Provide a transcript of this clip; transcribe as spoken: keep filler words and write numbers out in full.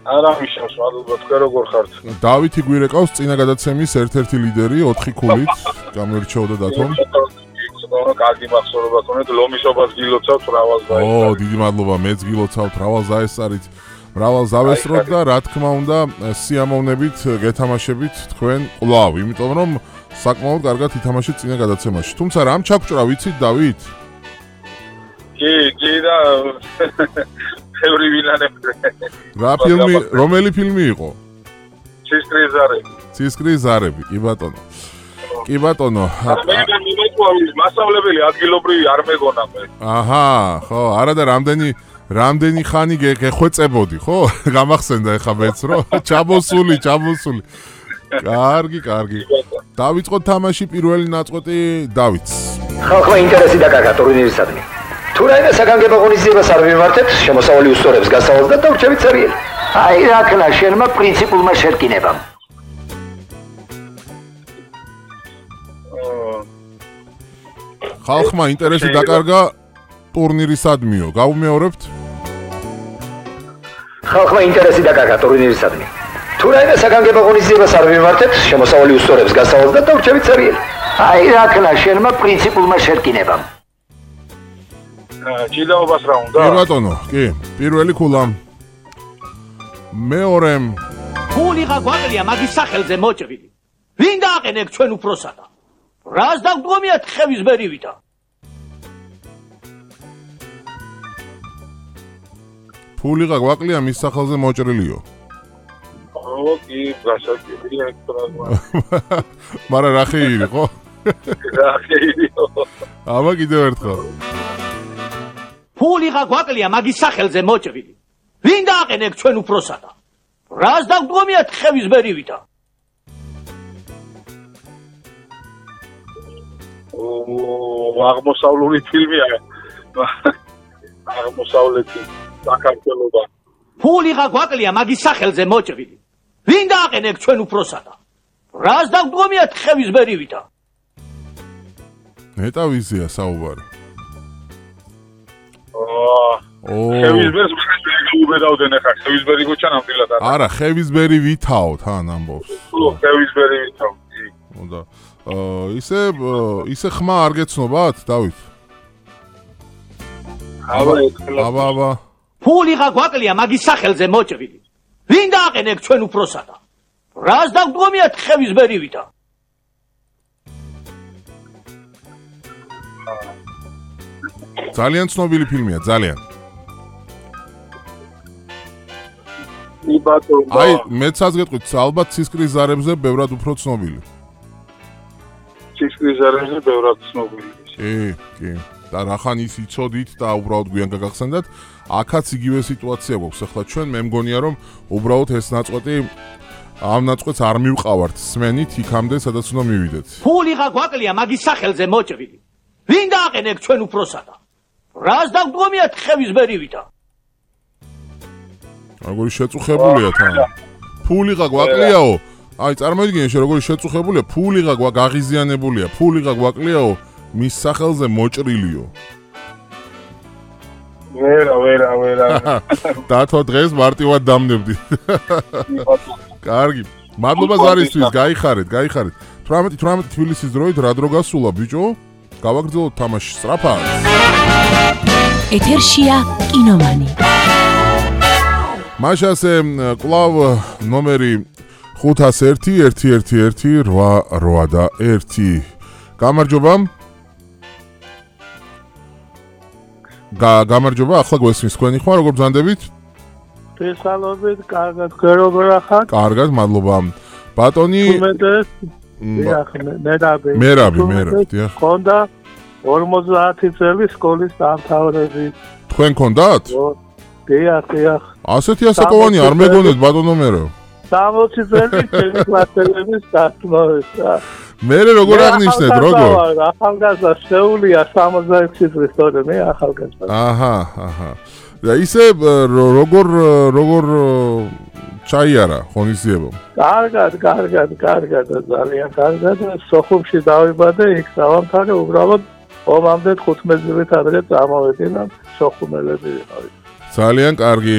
არა მიშავს, მადლობა, თქვენ როგორ ხართ? დავითი გვირეკავს წინა გადაცემის ერთ-ერთი ლიდერი ოთხი ქულით. გამერჩეოდა დათომ. კარგი მახსოვება ქონეთ, ლომისობას გილოცავთ, მრავალ ზაესწარით. ო, დიდი მადლობა, მეც გილოცავთ, მრავალ ზაესწარით. მრავალ ზავესროთ და რა თქმა უნდა, სიამოვნებით გეთამაშებით თქვენ კვლავ, იმიტომ რომ საკმაოდ კარგად ითამაშეთ წინა გადაცემაში. თუმცა რამ ჩაგჭრა ვიცით, დავით? კი, კი და ბევრი ვინანებზე. რა ფილმი, რომელი ფილმი იყო? ცისკრის ზარები. ცისკრის ზარები, კი ბატონო. კი ბატონო. მე მიმეყვავი, მასწავლებელი ადგილობრივი არ მეგონა მე. აჰა, ხო, არა და რამდენი რამდენი ხანი გეხვეწებოდი, ხო? გამახსენდა ეხა მეც რომ ჩამოსული, ჩამოსული. კარგი, კარგი. დავიწყოთ თამაში პირველი ნაწყვეტი დავითს. ხალხმა ინტერესი დაკარგა ტურნირისადმი. თუ რაიმე საგანგებო ღონისძიებას არ მიმართებთ, შემოსავალი უსწორებს გასავალს და დავრჩებით ცარიელი. აი რა ქნა შენმა პრინციპულმა შერკინებამ. ხალხმა ინტერესი დაკარგა ტურნირისადმიო. გავუმეორებთ? ხალხმა ინტერესი დაკარგა ტურნირისადმი. თუ რაიმე საგანგებო ღონისძიებას არ მიმართებთ, შემოსავალი უსწორებს გასავალს და დავრჩებით ცარიელი. აი რა ქნა შენმა პრინციპულმა შერკინებამ. ჭიდაობას რა უნდა? კი ბატონო, კი. პირველი ქულა. მეორე ფული გაგვაკლია მაგის სახელზე მოჭრილი. ვინ დააყენებ ჩვენ უფროსადა? რას დავდგომიათ ხევის ბერივითა? ფული გაგვაკლია მის სახელზე მოჭრილიო. ო, კი, გასაგებია ეს პროგრამა. მაგრამ რა ხეირი ხო? რა ხეირიო? აბა კიდევ ერთხელ. ფული გაგვაკლია მაგის სახელზე მოჭრილი. ვინ დააყენებ ჩვენ უფროსადა? რას დავდგომიათ ხევის ბერივითა? ო, აღმოსავლური ფილმია. აღმოსავლეთი საქართველოსა. ფული გაგვაკლია მაგის სახელზე მოჭრილი. ვინ დააყენებ ჩვენ უფროსადა? რას დავდგომიათ ხევის ბერივითა? ნეტავიზია საუბარი. ო, ხევის ბერს გაუბედავდნენ ახლა, ხევის ბერი გოჩა ნამდვილად არა. არა, ხევის ბერი ვითაო თან ამბობს. ო, ხევის ბერი ვითაო. უნდა ისე ისე ხმა არ გეცნობათ, დავით? აბა, აბა, აბა. ფული გაგვაკლია მაგის სახელზე მოჭრილი. ვინ დააყენებ ჩვენ უფროსადა? რას დავდგომიათ ხევის ბერივითა? ძალიან ცნობილი ფილმია, ძალიან. კი ბატონო. აი, მეც გეტყვით, ალბათ ცისკრის ზარებზე ბევრად უფრო ცნობილი. ცისკრის ზარებზე ბევრად ცნობილი. კი, კი. და რახან ის იცოდით და უბრალოდ გვიან გაგახსენდათ, აქაც იგივე სიტუაცია გვაქვს. ახლა ჩვენ მე მგონია რომ უბრალოდ ეს ნაწყვეტი ამ ნაწყვეტს არ მივყავართ სმენით იქამდე, სადაც უნდა მივიდეთ. ფული გაგვაკლია მაგის სახელზე მოჭრილი. ვინ დააყენებ ჩვენ უფროსადა? რას დავდგომიათ ხევის ბერივითა? როგორი შეწუხებულია თან. ფული გაგვაკლიაო. აი, წარმოიდგინე შე როგორი შეწუხებულია, ფული გაგვაღიზიანებულია, ფული გაგვაკლიაო, მის სახელზე მოჭრილიო. ვერა, ვერა, ვერა. დათო დღეს მარტივად დამნებდი. კარგი. მადლობა ზარისთვის, გაიხარეთ, გაიხარეთ. თვრამეტი თვრამეტი თბილისის დროით რა დრო გასულა ბიჭო? გავაგრძელოთ თამაში სწრაფად. ეთერშია კინომანი. მაშასე კლავ ნომერი ხუთას ერთი ერთი ერთი ერთი რვა რვა და ერთი. გამარჯობა. გამარჯობა, ახლა გვესმის თქვენი ხმა, როგორ ბრძანდებით? ფესალობით, კარგად, როგორ ახალ? კარგად, მადლობა. ბატონი მერაბი. მერაბი, მერაბი, დიახ. ხონდა ორმოცდაათი წელი სკოლის დამთავრები. თქვენ გქონდათ? დიახ, დიახ. ასეთი ასაკოვანი არ მეგონეთ ბატონო მერე. სამოცი წელი ჩემი კლასელების დასწავლისა. მერე როგორ აღნიშნეთ, როგორ? ახალგაზრდა შეუულია სამოცდაექვსი წლის თორე მე ახალგაზრდა. აჰა, აჰა. და ისე როგორ როგორ ჩაიარა ღონისძიება? კარგად, კარგად, კარგად, ძალიან კარგად. სოხუმში დავიბადე, იქ დავამთავრე, უბრალოდ ომამდე თხუთმეტ წლით ადრე წამოვედი და სოხუმელები ვიყავით. ძალიან კარგი.